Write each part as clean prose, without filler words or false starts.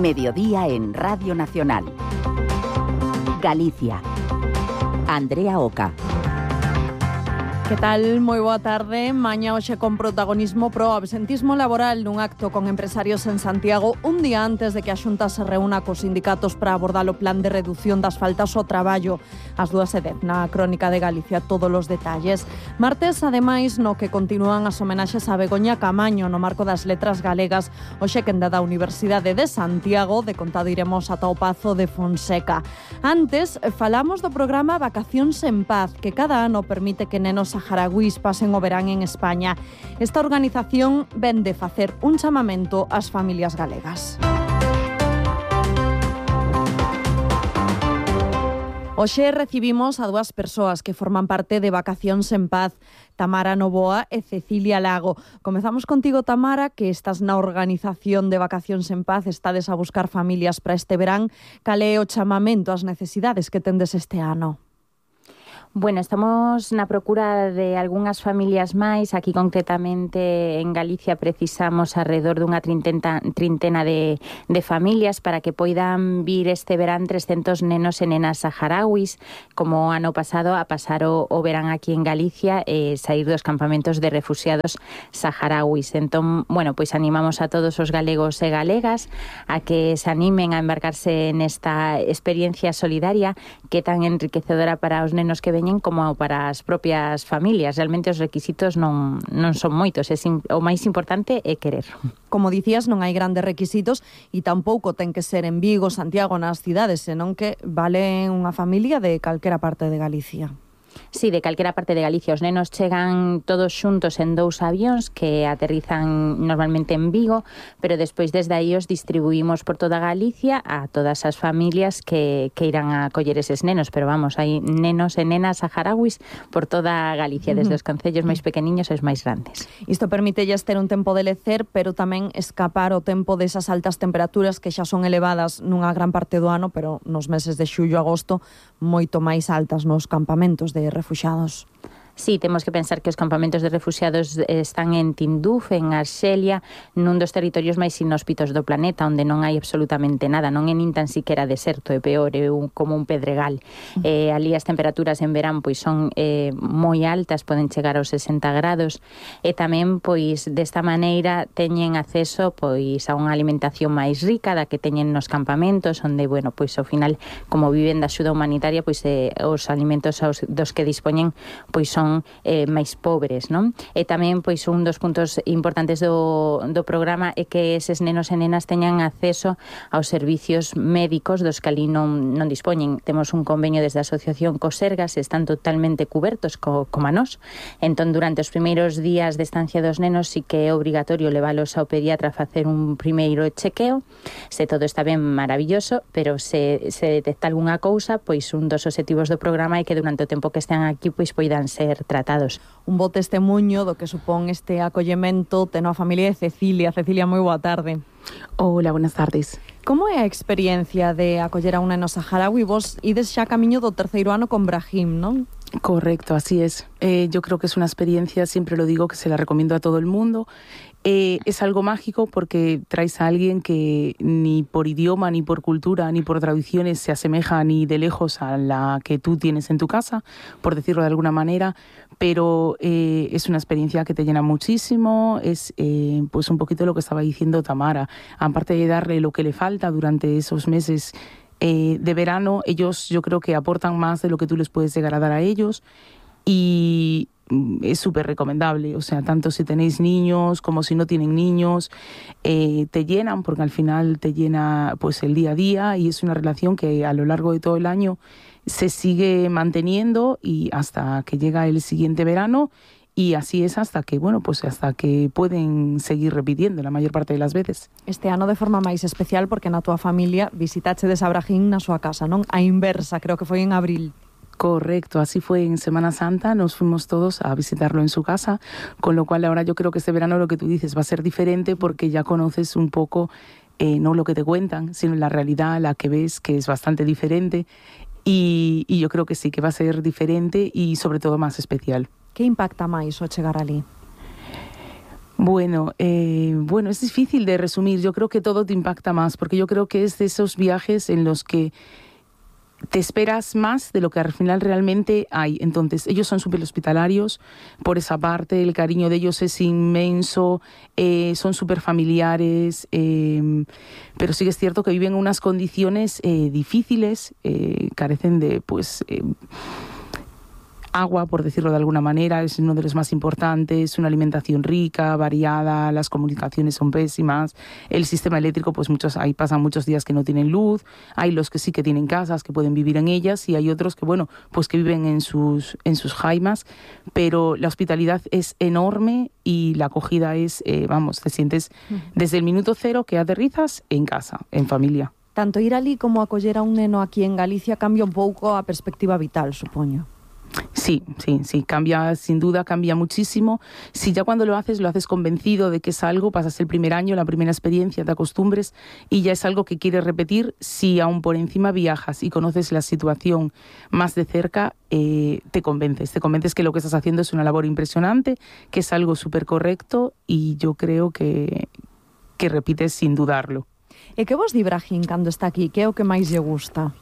Mediodía en Radio Nacional. Galicia. Andrea Oca. Que tal? Moi boa tarde. Mañá hoxe con protagonismo pro absentismo laboral nun acto con empresarios en Santiago un día antes de que a Xunta se reúna cos sindicatos para abordar o plan de reducción das faltas ao traballo. As 2:10 na Crónica de Galicia, todos os detalles. Martes, ademais, no que continúan as homenaxes a Begoña Camaño no marco das letras galegas, hoxe quenda da Universidade de Santiago, de contado iremos ata o Pazo de Fonseca. Antes, falamos do programa Vacacións en Paz, que cada ano permite que nenos saharauís pasen o verán en España. Esta organización ven de facer un chamamento ás familias galegas. Hoxe recibimos a dúas persoas que forman parte de Vacacións en Paz, Tamara Novoa e Cecilia Lago. Comezamos contigo, Tamara, que estás na organización de Vacacións en Paz, estades a buscar familias para este verán. Cal é o chamamento ás necesidades que tendes este ano? Bueno, estamos na procura de algunhas familias máis. Aquí concretamente en Galicia precisamos alrededor dunha trintena de familias para que poidan vir este verán 300 nenos e nenas saharauis, como ano pasado, a pasar o verán aquí en Galicia e sair dos campamentos de refugiados saharauis. Entón, bueno, pois animamos a todos os galegos e galegas a que se animen a embarcarse nesta experiencia solidaria que é tan enriquecedora para os nenos que veñen como para as propias familias. Realmente os requisitos non son moitos, o máis importante é querer. Como dicías, non hai grandes requisitos e tampouco ten que ser en Vigo, Santiago, nas cidades, senón que vale unha familia de calquera parte de Galicia. Sí, de calquera parte de Galicia. Os nenos chegan todos xuntos en 2 avións que aterrizan normalmente en Vigo, pero despois desde aí os distribuímos por toda Galicia a todas as familias que irán a coller eses nenos. Pero vamos, hai nenos e nenas saharauis por toda Galicia, desde os concellos máis pequeniños aos máis grandes. Isto permitelles ter un tempo de lecer, pero tamén escapar o tempo desas altas temperaturas que xa son elevadas nunha gran parte do ano, pero nos meses de xullo a agosto moito máis altas nos campamentos de refuxiados. Sí, temos que pensar que os campamentos de refuxiados están en Tinduf, en Arxelia, nun dos territorios máis inhóspitos do planeta, onde non hai absolutamente nada, non é nin tan siquiera deserto, é peor, é como un pedregal. Ali as temperaturas en verán pois son moi altas, poden chegar aos 60 grados, e tamén pois desta maneira teñen acceso pois a unha alimentación máis rica da que teñen nos campamentos, onde, bueno, pois ao final, como viven da axuda humanitaria, pois os alimentos dos que dispoñen pois son máis pobres, non? E tamén, pois, un dos puntos importantes do programa é que eses nenos e nenas teñan acceso aos servicios médicos dos que ali non dispoñen. Temos un convenio desde a asociación cos Sergas, están totalmente cubertos como a nós. Entón, durante os primeiros días de estancia dos nenos sí que é obrigatorio leválos ao pediatra a facer un primeiro chequeo. Se todo está ben, maravilloso, pero se detecta algunha cousa, pois un dos obxectivos do programa é que durante o tempo que estean aquí pois poidan ser tratados. Un bo testemunho do que supón este acollemento ten a familia de Cecilia. Cecilia, moi boa tarde. Hola, buenas tardes. Como é a experiencia de acoller a un neno saharaui? Vos ides xa camiño do 3º ano con Brahim, non? Correcto, así es. Yo creo que es una experiencia, siempre lo digo, que se la recomiendo a todo el mundo. Es algo mágico porque traes a alguien que ni por idioma, ni por cultura, ni por tradiciones se asemeja ni de lejos a la que tú tienes en tu casa, por decirlo de alguna manera, pero es una experiencia que te llena muchísimo. Es pues un poquito lo que estaba diciendo Tamara, aparte de darle lo que le falta durante esos meses de verano, ellos yo creo que aportan más de lo que tú les puedes llegar a dar a ellos, y es súper recomendable. O sea, tanto si tenéis niños como si no tienen niños, te llenan, porque al final te llena pues el día a día, y es una relación que a lo largo de todo el año se sigue manteniendo y hasta que llega el siguiente verano. Y así es hasta que, bueno, pues hasta que pueden seguir repitiendo la mayor parte de las veces. Este ano de forma máis especial porque na túa familia visitachedes a Brahim na súa casa, non? A inversa, creo que foi en abril. Correcto, así fue en Semana Santa, nos fuimos todos a visitarlo en su casa, con lo cual ahora yo creo que este verano lo que tú dices va a ser diferente porque ya conoces un poco, no lo que te cuentan, sino la realidad, la que ves, que es bastante diferente, y yo creo que sí, que va a ser diferente y sobre todo más especial. Que impacta máis o chegar ali? Bueno, es difícil de resumir. Yo creo que todo te impacta más, porque yo creo que es de esos viajes en los que te esperas más de lo que al final realmente hay. Entonces, ellos son súper hospitalarios, por esa parte, el cariño de ellos es inmenso, son súper familiares, pero sí que es cierto que viven en unas condiciones difíciles, carecen de, agua, por decirlo de alguna manera, es uno de los más importantes, una alimentación rica, variada, las comunicaciones son pésimas, el sistema eléctrico, pues ahí pasan muchos días que no tienen luz, hay los que sí que tienen casas, que pueden vivir en ellas, y hay otros que, que viven en sus jaimas, pero la hospitalidad es enorme y la acogida es, te sientes desde el minuto cero que aterrizas en casa, en familia. Tanto ir alí como acoller a un neno aquí en Galicia cambia un pouco a perspectiva vital, supoño. Sí, cambia, sin duda, cambia muchísimo. Si ya cuando lo haces convencido de que es algo, pasas el primer año, la primera experiencia, te acostumbres y ya es algo que quieres repetir. Si aún por encima viajas y conoces la situación más de cerca, te convences que lo que estás haciendo es una labor impresionante, que es algo súper correcto y yo creo que repites sin dudarlo. E que vos di Brahín cando está aquí? Que é o que máis lle gusta?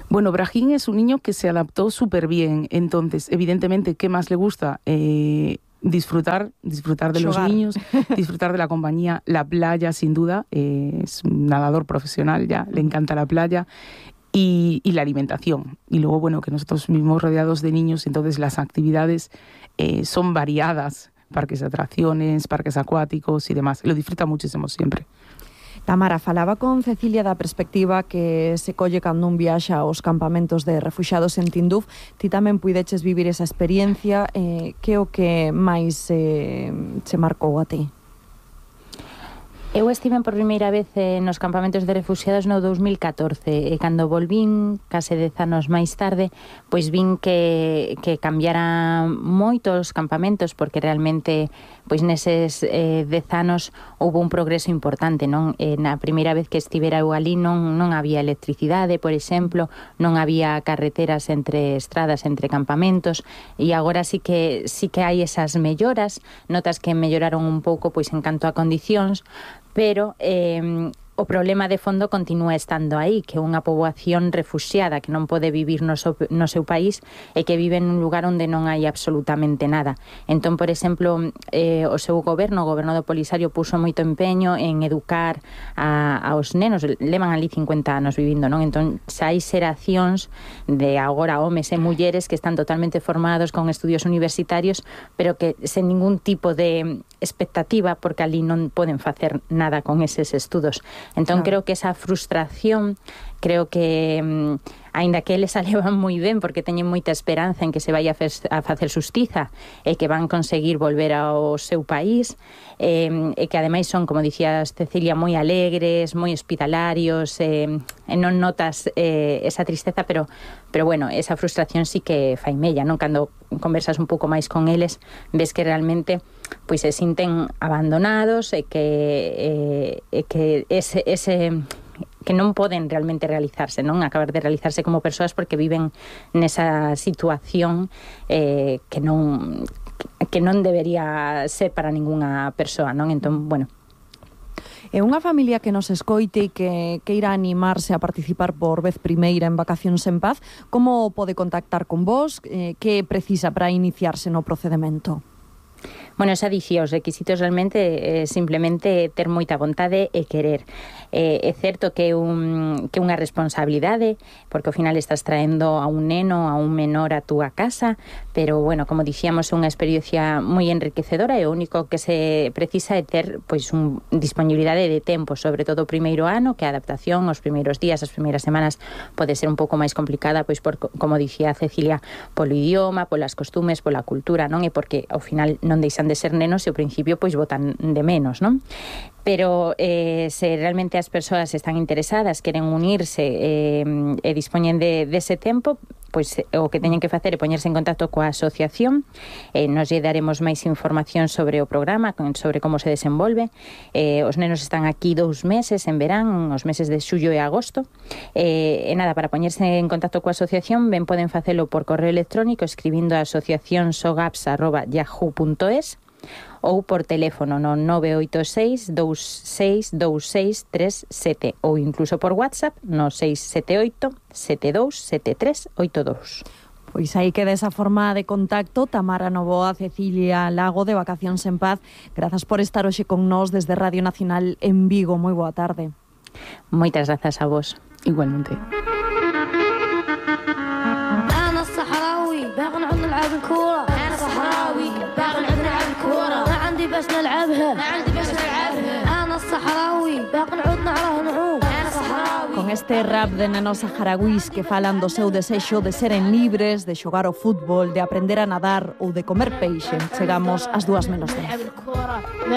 Bueno, Brahín es un niño que se adaptó súper bien. Entonces, evidentemente, ¿qué más le gusta? Disfrutar de los niños, disfrutar de la compañía, la playa, sin duda. Es un nadador profesional ya, le encanta la playa. Y la alimentación. Y luego, que nosotros mismos rodeados de niños, entonces las actividades son variadas. Parques de atracciones, parques acuáticos y demás. Lo disfruta muchísimo siempre. Tamara, falaba con Cecilia da perspectiva que se colle cando un viaxa aos campamentos de refuxiados en Tinduf. Ti tamén puideches vivir esa experiencia. Que é o que máis se marcou a ti? Eu estive por primeira vez nos campamentos de refuxiados no 2014 e cando volvín, case 10 anos máis tarde, pois vin que cambiara moito os campamentos porque realmente pois neses 10 anos houve un progreso importante, non? Na primeira vez que estivera eu ali non había electricidade, por exemplo, non había carreteras entre estradas, entre campamentos e agora sí que hai esas melloras, notas que melloraron un pouco pois en canto a condicións, pero o problema de fondo continúa estando aí, que é unha poboación refuxiada que non pode vivir no seu país e que vive en un lugar onde non hai absolutamente nada. Entón, por exemplo, o seu goberno, o goberno do Polisario, puso moito empeño en educar aos nenos, levan ali 50 anos vivindo, non? Entón, xa hai xeracións de agora homes e mulleres que están totalmente formados con estudios universitarios, pero que sen ningún tipo de expectativa, porque ali non poden facer nada con eses estudos. Entón, creo que esa frustración, creo que, aínda que eles a levan moi ben, porque teñen moita esperanza en que se vai a facer xustiza e que van conseguir volver ao seu país, e que ademais son, como dicías Cecilia, moi alegres, moi hospitalarios, e non notas esa tristeza, pero esa frustración sí que fai mella, non? Cando conversas un pouco máis con eles, ves que realmente pois se sinten abandonados e que que non poden realmente realizarse, non? Acabar de realizarse como persoas porque viven nesa situación que non debería ser para ningunha persoa, non? Entón, É unha familia que nos escoite e que queira animarse a participar por vez primeira en Vacacións en Paz. Como pode contactar con vos? Que precisa para iniciarse no procedemento? Xa dicía, os requisitos realmente simplemente ter moita vontade e querer. É certo que é unha responsabilidade, porque ao final estás traendo a un neno, a un menor a túa casa, pero, como dicíamos, é unha experiencia moi enriquecedora e o único que se precisa é ter disponibilidade de tempo, sobre todo o primeiro ano, que a adaptación, os primeiros días, as primeiras semanas pode ser un pouco máis complicada, como dicía Cecilia, polo idioma, polas costumes, pola cultura, non? E porque ao final non deixan de ser nenos e ao principio botan de menos, non? Pero se realmente as persoas están interesadas, queren unirse e dispoñen dese tempo, pois o que teñen que facer é poñerse en contacto coa asociación. Nos lle daremos máis información sobre o programa, sobre como se desenvolve. Os nenos están aquí 2 meses en verán, os meses de xullo e agosto. Para poñerse en contacto coa asociación, poden facelo por correo electrónico escribindo a asociacionsogapsa@yahoo.es. ou por teléfono no 986 262637 ou incluso por WhatsApp no 678 727382. Pois aí queda esa forma de contacto. Tamara Novoa, Cecilia Lago, de Vacacións en Paz. Grazas por estar hoxe con nós desde Radio Nacional en Vigo. Moi boa tarde. Moitas grazas a vos. Igualmente. بس نلعبها أنا الصحراوي باقي نعود نعرف نعوم أنا صحراوي. Con este rap de nenos saharauís que falan do seu desexo de seren libres, de xogar ao fútbol, de aprender a nadar ou de comer peixe, chegamos ás 2:10.